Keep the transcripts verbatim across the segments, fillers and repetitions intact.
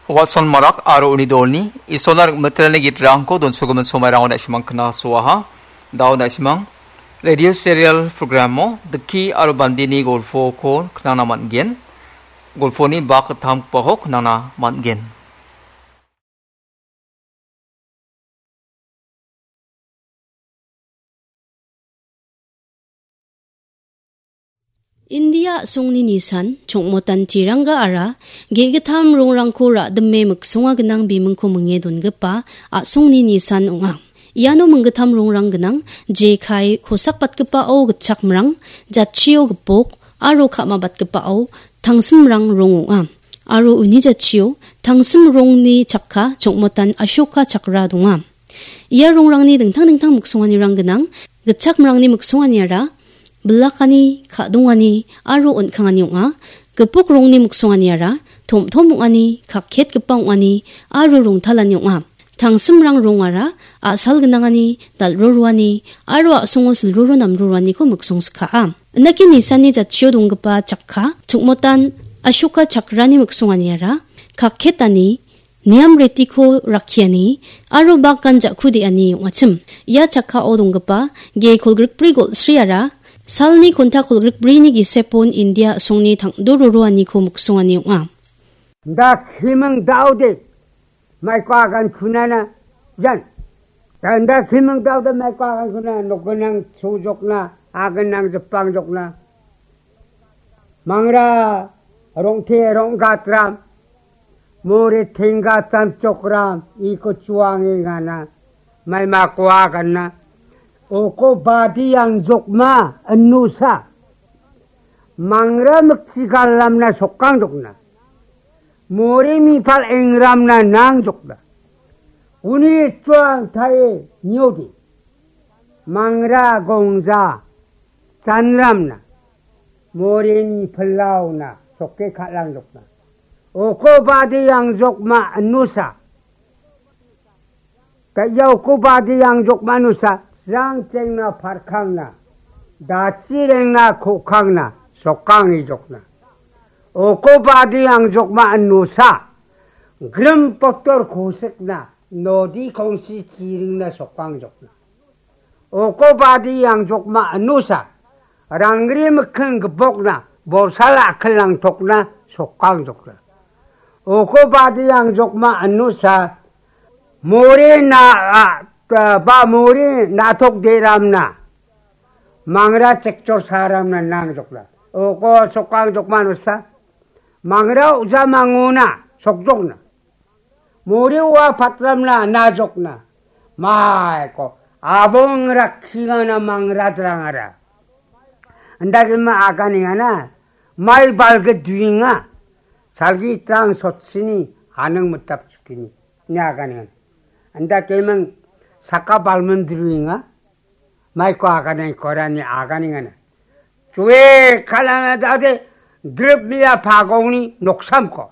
Watson Marak aro uni dolni Isolna rik·mitelni gitrangko donsogimin somairango na·simang knasoaha. Dao na·simang radio serial programo Dikki aro Bandini golfoko knangna man·gen. Golfoni bak gittamgipako knangna man·gen. India a·songni nisan chongmotan tiranggaara ge·gittam rongrangko ra·dime miksonga gnang bimingko minge dongipa a·songni nisan ong·a. Iano minggittam rongrang gnang, jekai kosakbatgipao gitchakmrang, jatchio gipok, aro ka·mabatgipao tangsimrang rong ong·a. Aro uni jatchio tangsim rongni chakka chongmotan Ashoka chakra donga. Ia rongrangni dingtang dingtang miksonganirang gnang. Gitchakmrangni miksonganiara bilakani, ka·dongani aro on·kangani ong·a. Gipok rongni miksonganiara tom-tom ong·ani, kakketgipa ong·ani aro rongtalani ong·a. Tangsimrang rongara a·sal gnangani, dal·roroani aro a·songo silroro namroroaniko miksongsikaa. Indake nisanni jatchio donggipa chakka, chongmotan Ashoka chakrani miksonganiara kakketani, niam retiko rakkiani aro bagan ja·ku de·ani ong·achim. Ia chakkao donggipa ge kolgrikbri golsriara salni konta kolgrikbrini gisepon India a·songni tangdo roroaniko miksongani ong·a. Da kiming daode maiko agan kunana jan. Da, da kiming daode maiko agan kunana, nokgenang sojokna, agenang jepangjokna. Mangra rongte ronggatram, more tenggatam chokram, iko chuange ngana, maimako aganna. Oko badi yang jokma, enusa. Mangra miksigalamna sokang jokna. More mipal engramna nang jokna. Uni chuang tae nyodi. Mangra gongja chanramna. Morini pelauna sokke ka·lang jokna. Oko badi yang jokma anusa. Ka ia oko badi yang jokma anusa. Rang chengna parkangna. Dachi rengna kokangna. Sokang i jokna. Oko badi yang jokma anusa. Grim potor kosikna. Nodi kongsi chiringna sokang jokna. Oko badi yang jokma anusa, rangri mikking gipokna, borsala akelang tokna, sokang jokna. Oko badi yang jokma anusa, more na, a, a, ba more natok deramna, mangra chekchor saramna nang jokna. Oko sokang jokma anusa, mangra uja mangona, sokjokna. Muri ua patramna najokna. Maiko abong rakkingana mangradrangara. Andagima aganingana mai balge duinga. Salgi tang sotsini anang metap chukini. Ni aganingana. Anda kemang saka balmen duinga. Maiko agane korani aganingana. Chue kalana dade drip mia pagongni noksamko.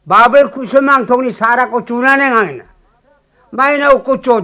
Babel kusumang tongni sarako chunane ngangina. Maina uko cho